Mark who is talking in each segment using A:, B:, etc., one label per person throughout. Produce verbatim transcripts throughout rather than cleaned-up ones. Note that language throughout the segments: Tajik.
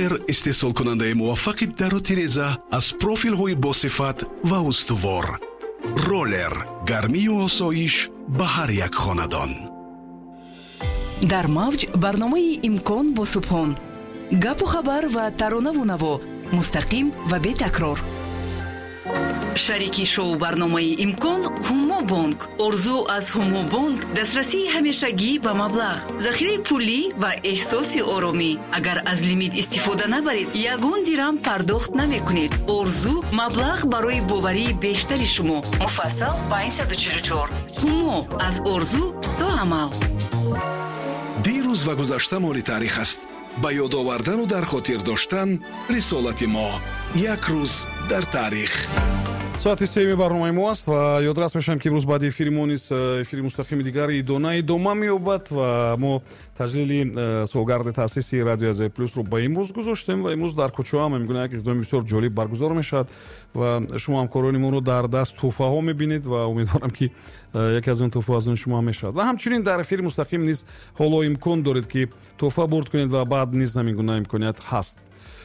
A: Роллер истеҳсолкунандаи муваффақи дару тиреза аз профилҳои босифат ва устувор. Роллер гармию осоиш ба ҳар як хонадон.
B: Дар мавҷ барномаи «Имкон» бо Субҳон. Гапу хабар ва таронаву наво мустақим ва бетакрор. Шарики шоу барномаи «Имкон» Ҳумо Бонк. Орзу аз Ҳумо Бонк дастрасии ҳамешагӣ ба маблағ, захираи пулӣ ва эҳсоси оромӣ. Агар аз лимит истифода набаред, ягон дирам пардохт намекунед. Орзу маблағ барои боварии бештари шумо. Муфассал панҷсаду чилу чор. Ҳумо аз орзу то амал.
A: Дирӯз ва гузашта моли таърих аст. Ба ёд овардану дар хотир доштан рисолати мо. Як рӯз дар таърих.
C: Соати сеюми барномаи мо аст ва ёдрас мешавем, ки имрӯз баъди эфири мо низ э, эфири мустақими дигари идона идома меёбад ва мо таҷлили э, солгарди таъсиси Радио Азия Плюсро ба имрӯз гузоштем. Ва имрӯз дар кӯчаҳо ҳам мегӯям, як иқдоми бисёр ҷолиб баргузор мешавад ва шумо ҳамкорони моро дар даст тӯҳфаҳо мебинед ва умедворам, ки э, яке аз он тӯҳфаҳо аз он шумо ҳам мешавад. Ва ҳамчунин дар эфири мустақим низ ҳоло имкон доред, ки тӯҳфа бурд кунед ва баъд низ ҳамин гуна имконият ҳаст.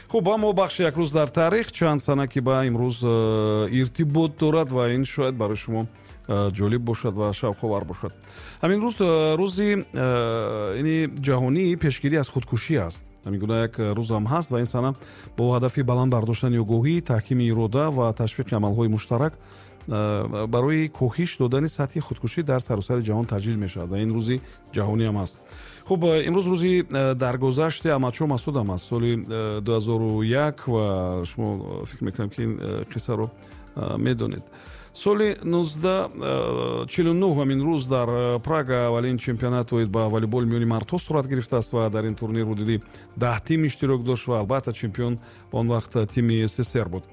C: Хуб, аммо бахши «Як рӯз дар таърих» чанд сана, ки ба имрӯз э, иртибот дорад ва ин шояд барои шумо э, ҷолиб бошад ва шавқовар бошад. Ҳамин рӯз э, рӯзи ини ҷаҳонии пешгирӣ аз худкушӣ аст. Ҳамин гуна як рӯзам ҳаст ва ин сана бо ҳадафи баланд бардоштани огоҳӣ, таҳкими ирода ва ташвиқи амалҳои муштарак барои коҳиш додани сатҳи худкушӣ дар саросари ҷаҳон таҷлил мешавад ва ин рӯзи ҷаҳониам аст. Хуб, имрӯз рӯзи даргузашти Аҳмадшоҳ Масудам аст, соли дуҳазору як, ва шумо фикр мекунам, ки ин қиссаро медонед. Соли нуздаҳ чилу нӯҳ ҳамин рӯз дар Прага аввалин чемпионат оид ба волейбол миёни мардҳо сурат гирифтааст ва дар ин турнир ҳудуди даҳ тим иштирок дошт ва албатта, чемпион он вақт тими С С С Р буд.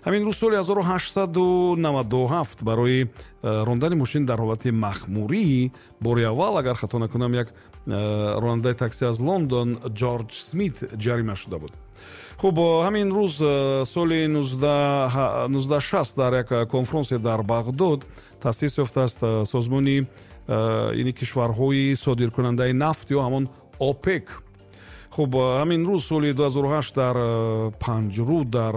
C: Ҳамин рӯз соли ҳазору ҳаштсаду наваду ҳафт барои рондани мошин дар ҳолати махмурӣ бори аввал, агар хато накунам, як ронандаи такси аз Лондон Ҷорҷ Смит ҷарима шуда буд. Хуб, ҳамин рӯз соли нуздаҳ шаст дар як конфронсе дар Бағдод таъсис ёфтааст созмони ини кишварҳои содиркунандаи нафт ё ҳамон ОПЕК. Хуб, ҳамин рӯз соли дуҳазору ҳашт дар Панҷруд дар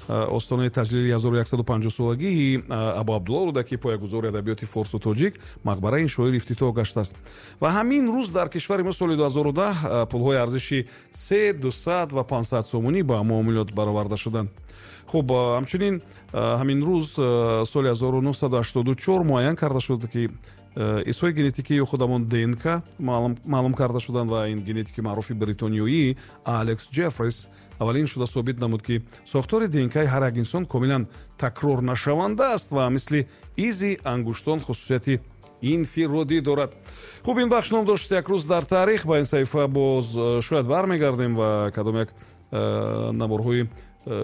C: остонаи таҷлили ҳазору яксаду панҷоҳ солагии Абу Абдулло Рӯдакӣ, поягузори адабиёти форсу тоҷик, мақбараи ин шоир ифтитоҳ гаштааст. Ва ҳамин рӯз дар кишвари мо соли дуҳазору даҳ пулҳои арзиши се, дусад ва панҷсад сомонӣ ба муомилот бароварда шуданд. Хуб, ҳамчунин ҳамин рӯз соли ҳазору нӯҳсаду ҳаштоду чор муайян карда шуд, ки изҳои генетикии худ ҳамон Д Н К маълум карда шуданд ва ин генетики маъруфи бритониёӣ Алекс Ҷеффрис аввалин шуда собит намуд, ки сохтори Д Н К ҳар як инсон комилан такрорнашаванда аст ва мисли изи ангуштон хусусияти инфиродӣ дорад. Хуб, ин бахш ном дошт «Як рӯз дар таърих». Ба ин саҳифа боз шояд бармегардем ва кадом як наворҳои,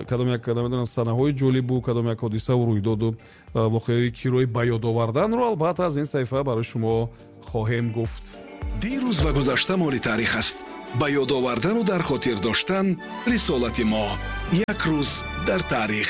C: кадом як, намедонам, санаҳои ҷолибу кадом як ҳодисаву рӯйдоду воқеаҳои кирои ба ёд оварданро албатта аз ин саҳифа барои шумо хоҳем гуфт.
A: Дирӯз ва гузашта моли таърих аст. Ба ёд овардану дар хотир доштан рисолати мо. Як рӯз дар таърих.